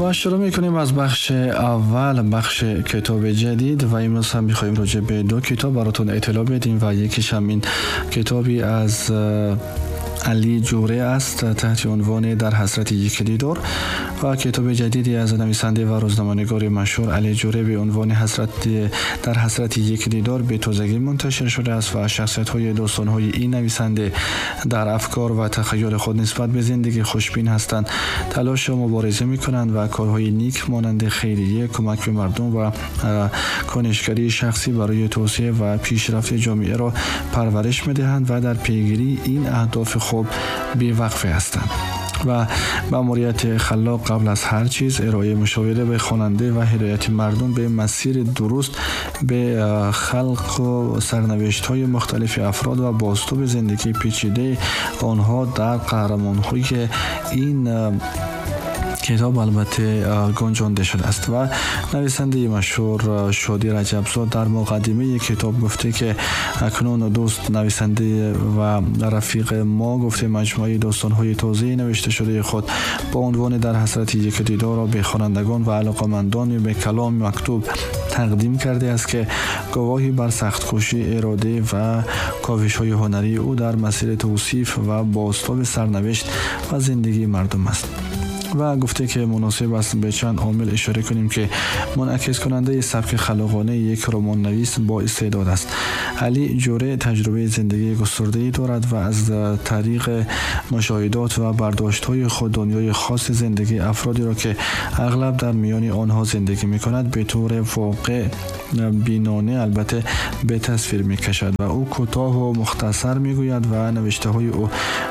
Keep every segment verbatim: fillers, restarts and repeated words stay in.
و شروع میکنیم از بخش اول، بخش کتاب جدید، و امروز هم میخواییم راجع به دو کتاب براتون اطلاع بدیم و یکیش هم این کتابی از علی جوره است تحت عنوان در حسرت یک دیدار و کتاب جدیدی از نویسنده و روزنامه‌نگار مشهور علی جوره به عنوان حسرت در حسرت یک دیدار به تازگی منتشر شده است و شخصیت‌های داستان‌های این نویسنده در افکار و تخیل خود نسبت به زندگی خوشبین هستند، تلاش و مبارزه می‌کنند و کارهای نیک مانند خیریه، کمک به مردم و کنشگری شخصی برای توسعه و پیشرفت جامعه را پرورش می‌دهند و در پیگیری این اهداف خوب بی‌وقفه هستند. و مأموریت خلاق قبل از هر چیز ارائه مشاوره به خواننده و هدایت مردم به مسیر درست به خلق و سرنوشت‌های مختلف افراد و بازتاب زندگی پیچیده آنها در قهرمان‌های این کتاب البته گنجانده شده است. و نویسنده مشهور شادی رجبزاد در مقدمه کتاب گفته که اکنون دوست نویسنده و رفیق ما گفته مجموعه داستان‌های تازه نوشته شده خود با عنوان در حسرت یک دیدار را به خوانندگان و علاقه‌مندان به کلام مکتوب تقدیم کرده است که گواهی بر سخت‌کوشی، اراده و کاوش‌های هنری او در مسیر توصیف و بازتاب سرنوشت و زندگی مردم است. و گفته که مناسب است به چند عامل اشاره کنیم که منعکس کننده سبک خلاقانه یک رمان نویس با استعداد است. علی جوره تجربه زندگی گسترده‌ای دارد و از طریق مشاهدات و برداشت‌های خود دنیای خاص زندگی افرادی را که اغلب در میان آنها زندگی می‌کند به طور واقع بینانه البته به تصویر می‌کشد و او کوتاه و مختصر می‌گوید و نوشته‌های او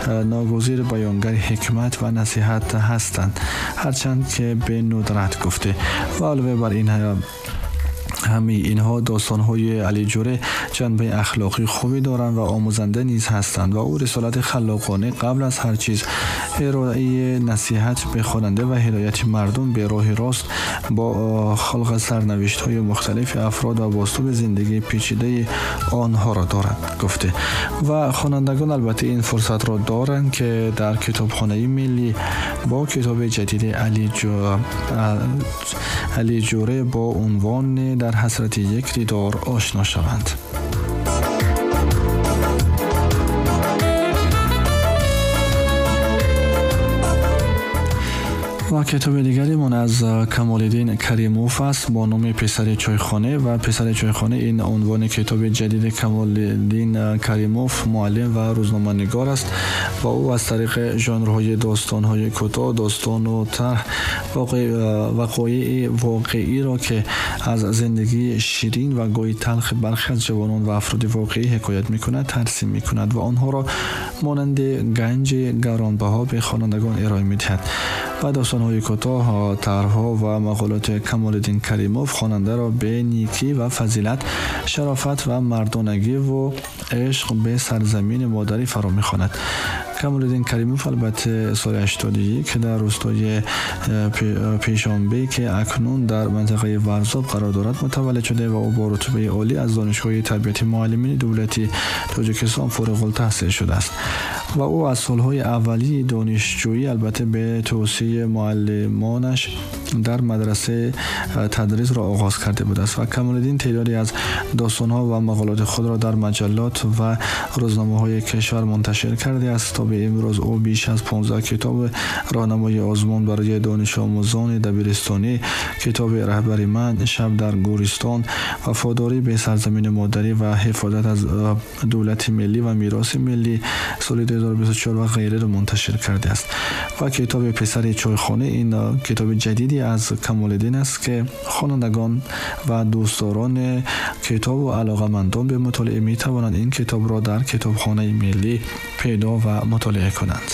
ناگزیر بیانگر حکمت و نصیحت هستند، هرچند که به ندرت گفته. و علاوه بر این همه اینها داستان‌های علی جوره جنبه اخلاقی خوبی دارند و آموزنده نیز هستند و او رسالت خلاقانه قبل از هر چیز ارائه نصیحت به خواننده و هدایت مردم به راه راست با خلق سرنوشت‌های مختلف افراد و بازتاب زندگی پیچیده آنها را دارد گفته. و خوانندگان البته این فرصت را دارند که در کتابخانه ملی با کتاب جدید علی جو... علی جوره با عنوان در حسرت یک دیدار آشنا شوند. و کتاب دیگری من از کمال‌الدین کریموف است با نام پسر چایخانه. و پسر چایخانه این عنوان کتاب جدید کمال‌الدین کریموف، معلم و روزنامه‌نگار است و او از طریق ژانرهای داستان‌های کوتاه، داستان و طرح وقایع واقعی را که از زندگی شیرین و گاهی تلخ برخی از جوانان و افراد واقعی حکایت می‌کند ترسیم می‌کند و آنها را مانند گنج گرانبها به خوانندگان ارائه می‌دهد. و داستان‌های کوتاه، طرح‌ها و مقالات کمال‌الدین کریموف خواننده را به نیکی و فضیلت، شرافت و مردانگی و عشق به سرزمین مادری فرا می‌خواند. کمال‌الدین کریموف البته سال هشتاد و یک در روستای پیشانبه که اکنون در منطقه ورزاب قرار دارد متولد شده و او با رتبه عالی از دانشگاه تربیت معلمین دولتی تاجیکستان فارغ التحصیل شده است و او از سالهای اولی دانشجویی البته به توصیه معلمانش در مدرسه تدریس را آغاز کرده بود است. و کمال‌الدین تعدادی از داستان‌ها و مقالات خود را در مجلات و روزنامه‌های کشور منتشر کرده است. تا به امروز او بیش از پانزده کتاب راهنمای آزمون برای دانش آموزان دبیرستانی، کتاب رهبری من، شب در گورستان، وفاداری به سرزمین مادری و حفاظت از دولت ملی و میراث ملی سال دو هزار و بیست و چهار و غیره را منتشر کرده است. و کتاب پسر چایخانه این کتاب جدیدی از کمال‌الدین است که خوانندگان و دوستداران کتاب و علاقه‌مندان به مطالعه می توانند این کتاب را در کتابخانه ملی پیدا و مطالعه کنند.